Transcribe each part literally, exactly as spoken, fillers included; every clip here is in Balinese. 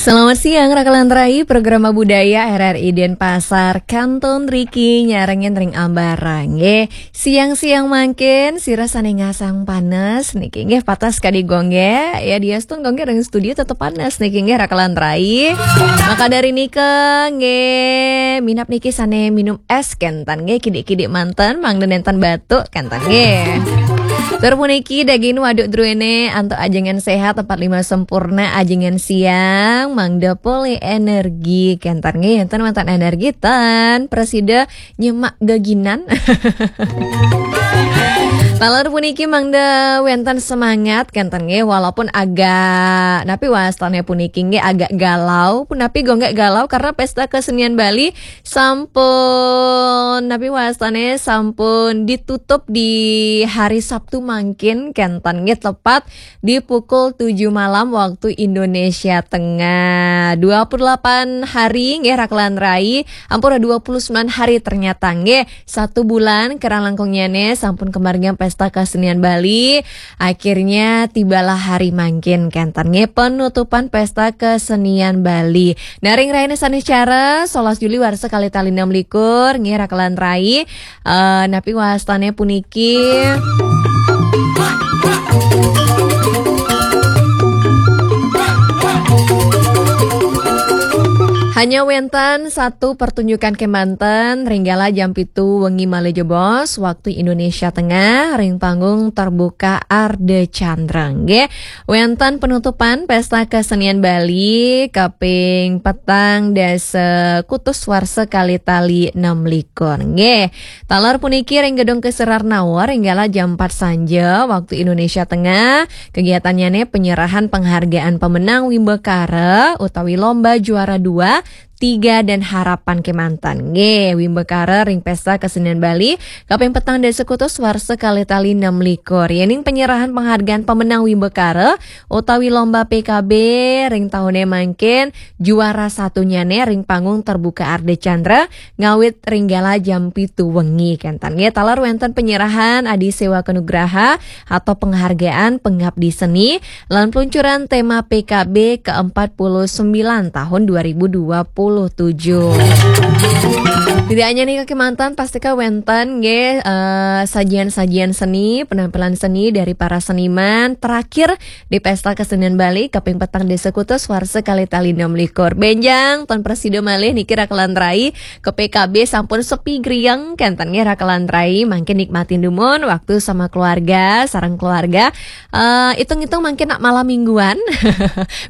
Selamat siang, Rakalan Rai, Programa Budaya R R I Denpasar, Kanton Riki, nyarengin ring ambarang, nggih. Siang-siang mangkin, sira sane ngasang panes, niki nggih patas kadi gongge, ya diastun gongge ring studio tetep panes, niki nggih Rakalan Rai. Maka dari nika, nggih, minab niki sane minum es kenten, nggih, kidik-kidik manten, mangda nenten batuk kenten, nggih. Tur puniki daging waduk druene antuk ajengan sehat, empat lima sempurna, ajengan siang, mangda polih energi kenten, nggih, enten wenten energi tan, presida nyemak geginan. Taler puniki mangda wenten semangat kenten, nggih, walaupun agak, napi wastane puniki, nggih, agak galau, punapi gongge galau karena pesta kesenian Bali sampun, napi wastane sampun ditutup di hari Sabtu mangkin kenten, nggih, tepat di pukul tujuh malam waktu Indonesia Tengah. Dua puluh delapan hari, nggih, Rakalan Rai, ampura, dua puluh sembilan hari ternyata, nggih. Satu bulan kerang langkungnyane sampun kemargiang Pesta Kesenian Bali. Akhirnya tibalah hari mangkin kenten, nggih, penutupan Pesta Kesenian Bali. Nah, ring raine sane cara, solas Juli warsa kalih tali enam likur, nggih, Rakalan Rai. Eh, napi wastane puniki? Hanya wenten satu pertunjukan kemanten, ring gala jam pitu wengi malih jebos, waktu Indonesia Tengah, ring panggung terbuka Arde Chandra, nggih. Wenten penutupan Pesta Kesenian Bali kaping petang dasa kutus warsa kalih tali enam likur, nggih. Taler puniki ring Gedung Kesarnawa ring gala jam empat sanja waktu Indonesia Tengah, kegiatannyane penyerahan penghargaan pemenang Wimbakara utawi lomba juara dua, tiga dan harapan kemanten. Nggih, Wimbakara ring Pesta Kesenian Bali kaping petang dasa kutus warsa kalih tali enam likur. Yening penyerahan penghargaan pemenang Wimbakara utawi lomba P K B ring tahune mangkin, juara satunyane ring panggung terbuka Arde Chandra ngawit ring gala jam pitu wengi kenten, nggih. Taler wenten penyerahan Adi Sewa Kenugraha atau penghargaan pengabdi seni lan peluncuran tema P K B ke empat puluh sembilan tahun dua ribu dua puluh tujuh. Tidak hanya nika kemanten, pastika wenten, nggih, eh, sajian-sajian seni, penampilan seni dari para seniman. Terakhir di Pesta Kesenian Bali kaping petang dasa kutus warsa kalih tali enam likur. Benjang ton prasida malih niki Rakalan Rai, ke P K B sampun sepi griang kenten, nggih, Rakalan Rai, mangkin nikmatin dumun waktu sama keluarga, sareng keluarga. Eh, itung-itung mangkin nak malam mingguan.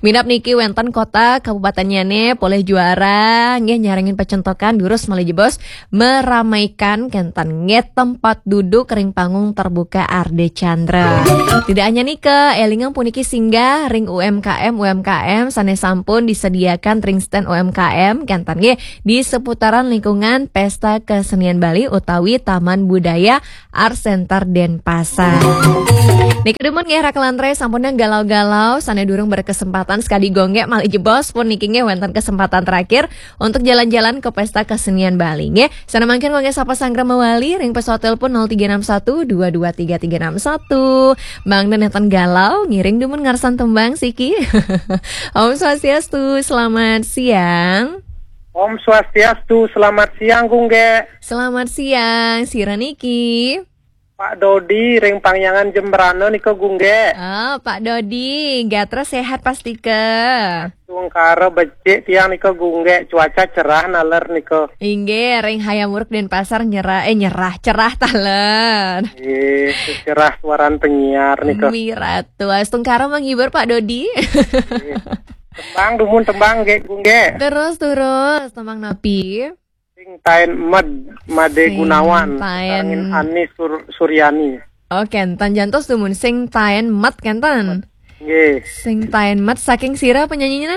Minab niki wenten kota kabupatennyane polih juara, nggih, nyarengin pacentokan durus malih jebos meramaikan kenten, nggih, tempat duduk ring panggung terbuka Arde Chandra. Tidak hanya nika, elingang puniki singgah ring U M K M U M K M sane sampun disediakan ring stand U M K M kenten, nggih, di seputaran lingkungan Pesta Kesenian Bali utawi Taman Budaya Art Center Denpasar. Niki dumun, nggih, Rakalan Rai, sampun galau-galau, sane durung berkesempatan sekadi gongge malih jebos pun niki, nggih, wenten kesempatan terakhir untuk jalan-jalan ke Pesta Kesenian Bali, nggih. Sane mangkin gongge sapa sanggra mawali ring pesawat telepon nol tiga enam satu dua dua tiga tiga enam satu. Mangda nenten galau, ngiring dumun ngarsan tembang siki. Om Swastiastu, selamat siang. Om Swastiastu, selamat siang, Gungge. Selamat siang, sira niki? Pak Dodi, ring Pangyangan Jembrana nika, Gungge. Ah, Pak Dodi, gatra sehat pastika? Tungkara becik tiang nika, Gungge, cuaca cerah naler nika. Inggih, ring Hayam Wuruk Denpasar nyerah, eh, nyerah, cerah taler. Nggih, cerah suaran penyiar nika. Miratu, astungkara menghibur, Pak Dodi. Nggih. Tembang, dumun tembang, nggih, Gungge. Terus, terus, tembang napi? Sing taen med, Made Sing Gunawan, taen. Sarengin Ani Sur-, Suryani. Oh, kenten, jantos dumun, sing taen med kenten. Nggih. Sing taen med saking sira penyanyinya?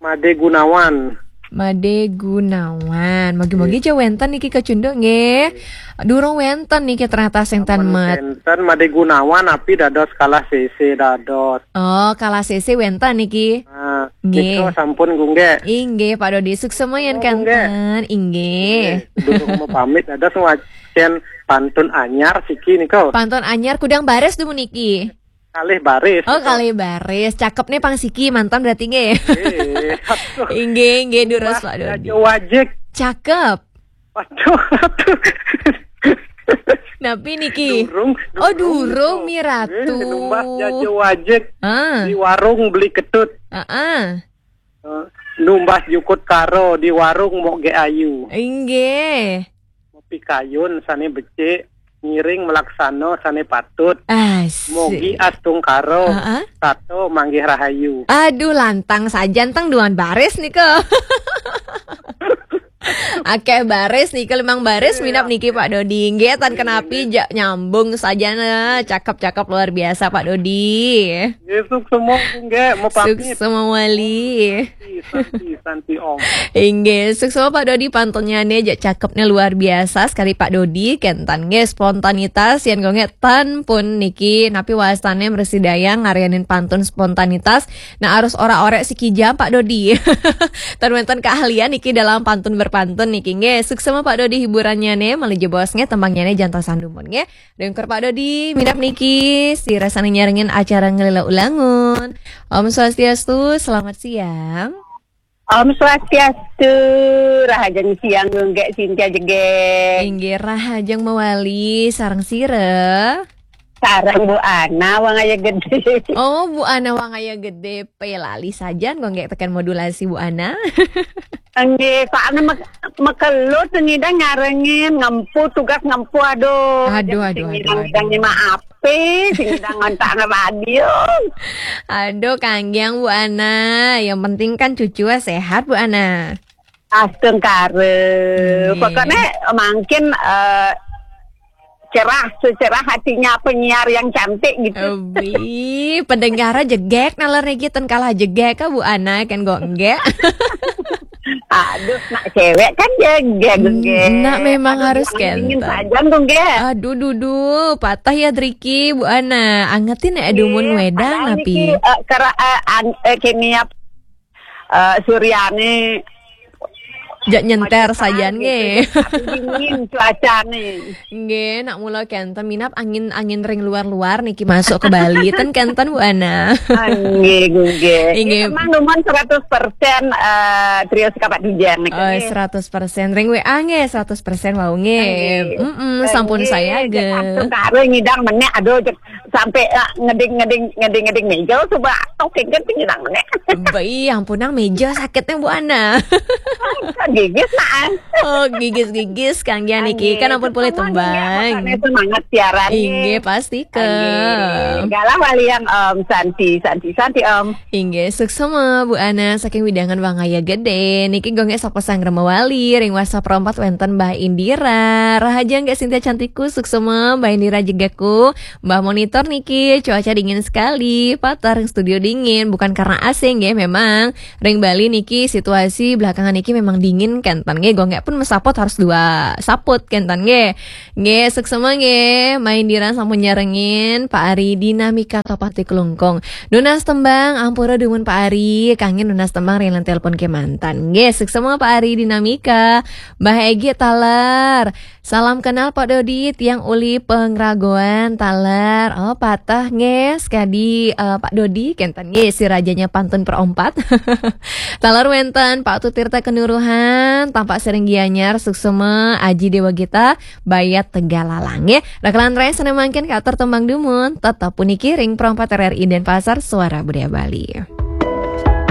Made Gunawan. Made Gunawan. Mogi-mogi Nggih. Ja wenten niki kacunduk, nggih. Durung wenten niki ternyata sing taen Amun med. Wenten Made Gunawan, api dados kalah sese dados. Oh, kalah sese wenten niki. Ah, Nggih. Nika sampun, Gungge. Inggih, Pak Dodi, suksma yen Oh, Gungge. Kenten. Inggih. Nggih, durung mapamit, dados ngwacen pantun anyar siki nika. Pantun anyar kudang baris dumun niki. Kalih baris. Oh, kalih baris. Cakep nih pang siki, mantan berarti nggih. Eh, aduh. Inggih, inggih, durus Pak Dodi. Jajo wajik. Cakep. Waduh, aduh. Napi niki? Durung. Oh, durung, Mi Eh, Ratu. Numbas jajo wajik. Ah, Di warung beli ketut. ah, ah. Eh, Numbas jukut karo di warung mok ge ayu. Inggih. Pikayun sane becik, ngiring melaksana sane patut. Asik. Mogi astungkara, Heeh. Tato manggih rahayu. Aduh, lantang sajan teng duan baris nika. Akeh baris nika, limang baris minap niki Pak Dodi. Nggih, tan kenapi ja, nyambung saja nah. Cakep-cakep luar biasa Pak Dodi. Nggih, suksma, Bu, nggih, mau pamit. Suksma wali. Santi, santi, santi, Om. Inggih, suksma Pak Dodi, pantunnya nih ja cakepnya luar biasa sekali Pak Dodi. Kentan nggih, spontanitas yang gonge tan pun niki, napi wastane mersidayang ngarianin pantun spontanitas. Nah, harus ora orek siki jam Pak Dodi. Tan wenten keahlian niki dalam pantun berpantun niki nggih. Suksma Pak Dodi hiburannya nih, malih jebos nggih, tembangnya nih jantosan dumun nggih. Dengker Pak Dodi, minap niki, si rasane nyarengin acara Ngelila Ulangun. Om Swastiastu, selamat siang. Om Swastiastu, rahajeng siang nggih Sintia Jegeg. Inggih, rahajeng mawali sareng sira. Sareng Bu Ana Wangaya Gede. Oh, Bu Ana Wangaya Gede, pelali sajan kok nggih teken modulasi Bu Ana. Nggih, soalnya mek mekelut ngidang nyarengin, ngempu tugas ngempu, aduh. Aduh, Jadi aduh, sing aduh, ngidang aduh. Ngidang maaf, sing ngidang ngontak radio. Aduh, kanggiang Bu Ana, yang penting kan cucu sehat Bu Ana. Astungkara. Nggih. Pokoknya mungkin eh, cerah, secerah hatinya penyiar yang cantik gitu. Ebi, pendengar jegek nalar niki ten kalah jegek ka Bu Ana kan kok enggak. Aduh, nak cewek kan jegeg, jegeg. Nak memang Aduh, harus jangan dingin kenten. Saja dong, nggih. Aduh, dudu, patah ya Driki Bu Ana. Angetin ya dumun Iya, wedang padahal napi. Niki, eh, kera eh, ang, eh, kimia eh, Suryani. Jak nyenter Macam sajan gitu. nggih. Tapi dingin cuacane. Nggih, nak mula kenten minap angin angin ring luar-luar niki masuk ke Bali ten kenten Bu Ana. Nggih, nggih. Nggih. Memang numan seratus persen eh, trio sekapat dijang niki. Oh, seratus persen ring W A nggih, seratus persen wau nggih. Nggih. Mm-mm, sampun Nggih, saya jek ge. Ampun karo ngidang meneh, aduh, jek sampai eh, ngeding-ngeding ngeding-ngeding meja coba oke kan ngidang meneh. Bayi, ampunang meja sakitnya Bu Ana. Gigis nah. Oh, gigis-gigis kanggian niki kan ampun boleh Semangat, tembang. Makanya semangat siaran. Inggih, pasti ke. Nggih. Galah wali yang Om Santi, Santi, Santi Om. Inggih, suksma Bu Ana saking wewidangan Wangaya Gede. Niki gonge sapa sang remawali ring WhatsApp rompat wenten Mbah Indira. Rahajeng nggih Sintia cantikku, suksma Mbah Indira jegegku. Mbah monitor niki, cuaca dingin sekali. Patah ring studio dingin, bukan karena A C nggih memang. Ring Bali niki situasi belakangan niki memang dingin kenten nggih. Gonge pun mesaput harus dua saput kenten nggih. Nggih, suksma nggih. Mbah Indira sampun nyarengin Pak Ari Dinamika Topati Klungkung. Nunas tembang, ampura dumun Pak Ari, kangge nunas tembang ring telepon kemanten. Nggih, suksma Pak Ari Dinamika. Mbah Egi taler. Salam kenal Pak Dodi, tiang uli pengragoan taler. Oh, patah nggih, sekadi eh, Pak Dodi kenten nggih si rajanya pantun perompat. Taler wenten Pak Tutirta Kenuruhan, tampak sering Gianyar, suksma Aji Dewa Gita, Bayat Tegalalang nggih. Rakalan rai sane mangkin katur tembang dumun, tetep puniki ring perompat R R I Denpasar, Suara Budaya Bali.